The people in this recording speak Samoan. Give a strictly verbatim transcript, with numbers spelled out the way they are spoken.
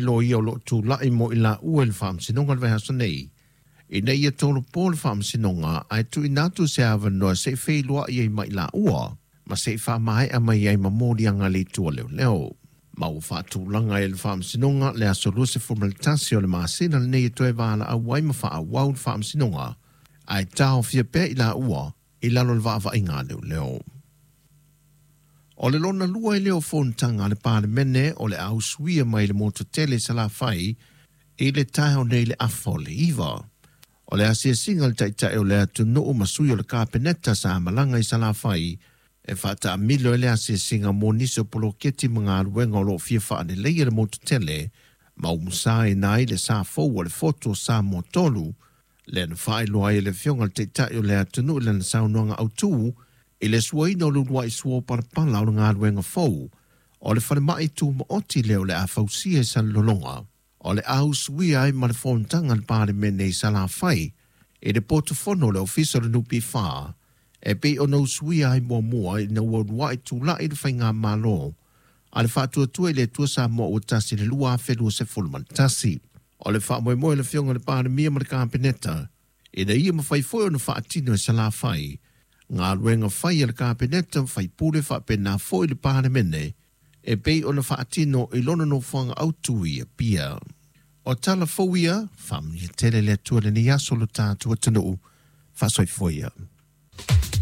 Loia o loo tulai mo i laua i le faamasinoga le vaiaso nei, ina ia tolopo le faamasinoga ae tuuina atu se avanoa se i feiloai ai ma i laua ma se i faamaea mai ai ma moliaga le itu a leoleo. Ma ua faatulaga e le faamasinoga le aso luasefulu ma le tasi o le masina lenei e toe valaau ai ma faaauau le faamasinoga ae taofia pea i laua i lalo le vaavaiga a leoleo. O le lona lua i leo fonotaga a le Palemene o le a usuia mai le motu tele i Salafai i le taeao nei le afa o le iva. O le asiasiga le taitai o le atunuu ma sui o le Kapeneta sa malaga i Salafai e faataamilo e le asiasiga mo nisi o poloketi ma galuega o loo fia faaleleia le motu tele ma umusa ina ai le sa fou o le fotu o Samoa tolu lea na faailoa ai e le afioga le taitai o le atunuu i lana saunoaga autū i le suaina o le uluai sua o palapala o le galuega fou o le falemai tumaoti lea o le a fausia i Salelologa. O le a usuia ai ma le fonotaga a le Palemene i Salafai i le potufono o le Ofisa o le N P F e pei ona usuia ai muamua ina ua uluai tulai le faigamalo a le Faatuatua i le Atua Samoa ua tasi le lua afe luasefulu ma le tasi. O le faamoemoe le afioga le Palemia ma le Kapeneta ina ia mafai foi ona faatino e Salafai galuega fai a le Kapeneta faipule faapena foi le Palemene e pei ona faatino i lona nofoaga autū i Apia. O tala fou ia, faamanuia tele le Atua lenei aso lo tatou atunuu, faasoifua ia.